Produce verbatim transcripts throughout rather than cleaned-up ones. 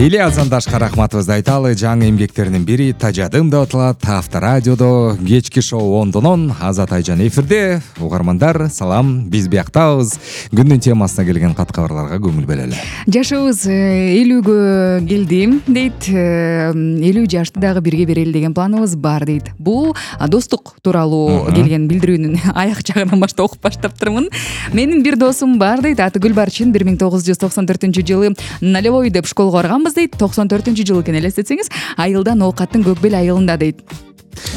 Ильяс Андашка рахматыбызды айталы. Жаңы эмгектеринин бири Тажадым деп аталат. Авторадиодо кечки шоу ондонон Азат Айжан эфирде. Угармандар, салам. Биз бияктабыз. Күндүн темасына келген кат кабарларга көңүл бөлөлү. Жашыбыз элүүгө келди дейт. элүү жашты дагы бирге берели деген планыбыз бар дейт. Бул достук тууралуу келген билдирүүнүн аяк жагынан баштап окуп баштаптырмын. Менин бир досум бар дейт. Аты Гүлбарчын. бир миң тогуз жүз токсон төртүнчү жылы Налевой деп школго барганбыз дейт. токсон төртүнчү жылы экен, элестетсеңиз, айылдан оокаттын Көкбел айылында дейт.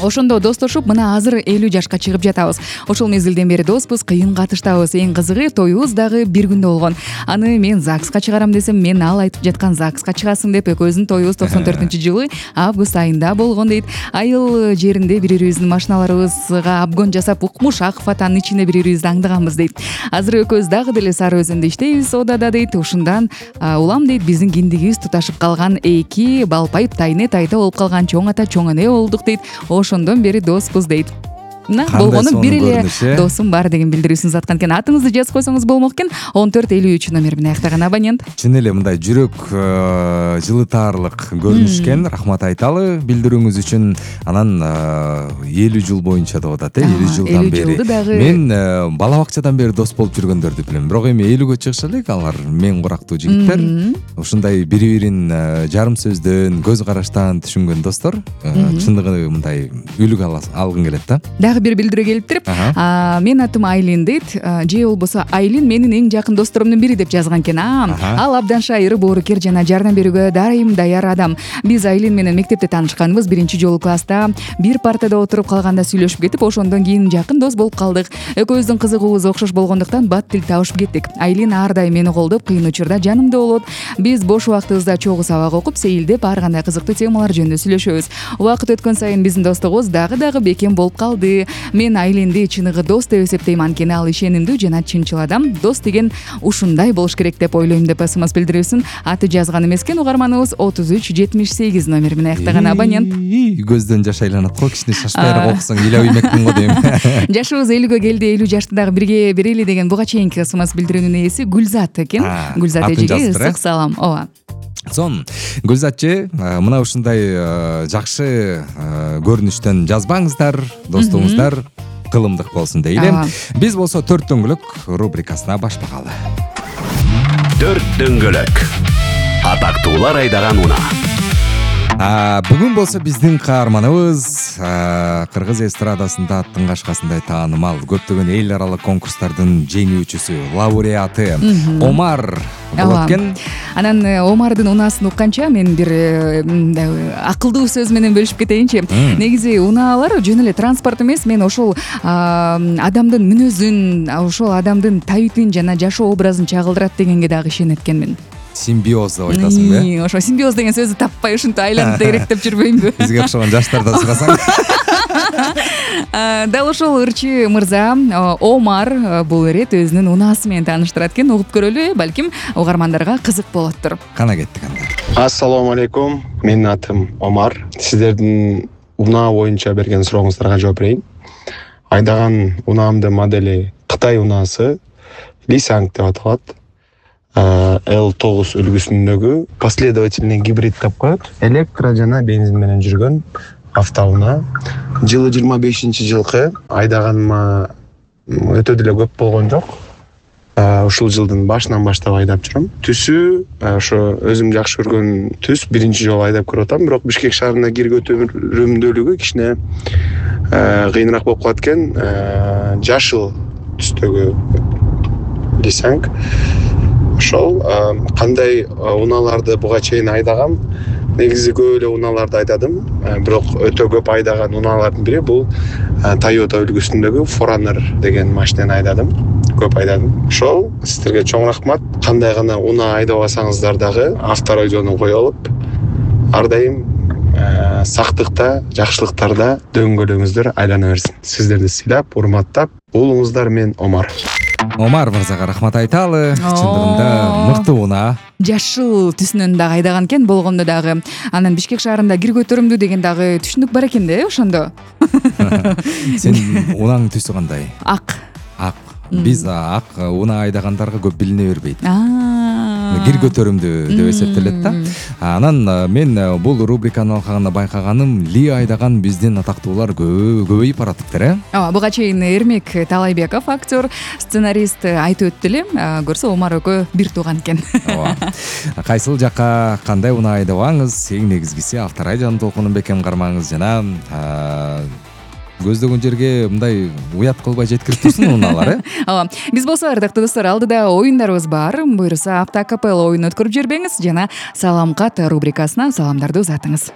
Ошондо достошуп, мына азыр элүү жашка чыгып жатабыз. Ошол мезгилден бери доспуз, кыйын катыштабыз. Эң кызыгы тоюбуз дагы бир күндө болгон. Аны мен ЗАГСка чыгарам десем, мен ал айтып жаткан ЗАГСка чыгасың деп, экөөбүздүн тоюбуз токсон төртүнчү жылы август айында болгон дейт. Айыл жеринде бири-бирибиздин машиналарыбызга обгон жасап, укмуш ак фатанын ичинде бири-бирибизди аңдыганбыз дейт. Азыр экөөбүз дагы деле Сары Өзөндө иштейбиз, одада дейт. Ушундан улам дейт, биздин киндигибиз туташып калган эки балпайып тайне тайта болуп калган чоң ата чоң эне болдук дейт. Ошондон бери доспуз дейт. Мына болгону бир эле досум бар деген билдирүүсүн заткан экен. Атыңызды жазып койсоңуз болмок экен. он төрт элүү үч номер менен аяктаган абонент. Чын эле мындай жүрөк жылытаарлык көрүнүш экен. Рахмат айталы билдирүүңүз үчүн. Анан элүү жыл боюнча деп атат, э, элүү жылдан бери. Мен бала бакчадан бери дос болуп жүргөндөрдү билем. Бирок эми элүүгө чыгыша элек алар мен курактуу жигиттер. Ушундай бири-бирин жарым сөздөн, көз караштан түшүнгөн достор. Чындыгы мындай үлгү алгың келет да. Бир билдирүү келиптир. Мен атым Айлин дейт. Же болбосо Айлин менин эң жакын досторомдун бири деп жазган экен. Ал абдан шайыр, боорукер жана жардам берүүгө дайым даяр адам. Биз Айлин менен мектепте таанышканбыз. Биринчи жолу класста бир партада отуруп калганда сүйлөшүп кетип, ошондон кийин жакын дос болуп калдык. Экөөбүздүн кызыгуубуз окшош болгондуктан бат тил табышып кеттик. Айлин ар дайым мени колдоп, кыйын учурда жанымда болот. Биз бош убактыбызда чогуу сабак окуп, сейилдеп, ар кандай кызыктуу темалар жөнүндө сүйлөшөбүз. Убакыт өткөн сайын биздин достугубуз дагы дагы бекем болуп калды. Мен Айлинди чыныгы дос деп эсептейм, анткени ал ишенимдүү жана чынчыл адам. Дос деген ушундай болуш керек деп ойлойм деп смс билдирүүсүн аты жазган эмес экен. Угарманыбыз отуз үч жетимиш сегиз номер менен аяктаган абонент. Көздөн жаш айланат го, кичине шашпайраак окусаң ыйлап иймекмин го дейм. Жашыбыз элүүгө келди, элүү жашты дагы бирге берели деген буга чейинки смс билдирүүнүн ээси Гүлзат экен. Гүлзат эжеге ысык салам. Ооба. Сон, Гүлзатчы, мына ушундай жакшы көрүнүштөн жазбаңыздар, достуңуздар кылымдык болсун дейли. Биз болсо төрт дөңгөлөк рубрикасына башлагалы. Төрт дөңгөлөк. Атактуулар айдаган унаа. Бүгүн болсо биздин каарманыбыз кыргыз эстрадасында аттын кашкасындай таанымал көптөгөн эл аралык конкурстардын жеңүүчүсү, лауреаты Омар болот экен. Анан Омардын унаасын укканча мен бир акылдуу сөз менен бөлүшүп кетейинчи. Негизи унаалар жөн эле транспорт эмес, мен ошол адамдын мүнөзүн, ошол адамдын табитин жана жашоо образын чагылдырат дегенге дагы ишенет экенмин. Симбиоз деп айтасың бе? Ошо симбиоз деген сөздү таппай ушинтип айланып дегеректеп жүрбөймбү? Бизге окшогон жаштардан сурасаң. Дал ошол ырчы мырза Омар бул ирет өзүнүн унаасы менен тааныштырат экен. Угуп көрөлү, балким угармандарга кызык болоттур. Кана кеттик анда. Ассалому алейкум. Менин атым Омар. Сиздердин унаа боюнча берген сурооңуздарга жооп берейин. Айдаган унаамдын модели Кытай унаасы Лисанг деп аталат. эл тогуз үлгүсүндөгү последовательный гибрид деп коет. Электро жана бензин менен жүргөн автоунаа. Жылы жыйырма бешинчи жылкы айдаганыма өтө деле көп болгон жок. Ушул жылдын башынан баштап айдап жүрөм. Түсү ошо өзүм жакшы көргөн түс, биринчи жолу айдап көрүп атам, бирок Бишкек шаарына кирүү өтүмдүүлүгү кичине кыйыныраак болуп калат экен. Жашыл түстөгү Лисанг. Ошол кандай унааларды буга чейин айдагам. Негизи көп эле унааларды айдадым, бирок өтө көп айдаган унаалардын бири бул Toyota үлгүсүндөгү Forerunner деген машинени айдадым. Көп айдадым. Ошол сиздерге чоң рахмат. Кандай гана унаа айдап алсаңыздар дагы авторадиону кое алып, ар дайым сактыкта, жакшылыктарда дөңгөлөңүздөр айлана берсин. Сиздерди сыйлап, урматтап, уулуңуздар мен Омар. Омар мырзага рахмат айталы. Чындыгында мыкты унаа. Жашыл түсүнөн дагы айдаган экен, болгондо дагы. Анан Бишкек шаарында кир көтөрүмдүү деген дагы түшүндүк бар экен да, ошондо. Сен унаң түсү кандай? Ак. Ак. биз ак унаа айдагандарга көп билине бербейт. Кир көтөрүмдүү деп эсептелет да. Анан мен бул рубриканы алганда байкаганым Ли айдаган биздин атактуулар көбөйүп баратыптыр, э? Ооба, буга чейин Эрмек Талайбеков актер, сценарист айтып өттү эле. Көрсө Омар экөө бир тууган экен. Ооба. Кайсыл жакка кандай унаа айдабаңыз, эң негизгиси авторадиону толкунун бекем кармаңыз жана көздөгөн жерге мындай уят кылбай жеткирип турсун унаалар, э? Ооба. Биз болсо ардактуу достор, алдыда оюндарыбыз бар. Буюрса автоакапелла оюн өткөрүп жибербеңиз жана Салам кат рубрикасына саламдарды узатыңыз.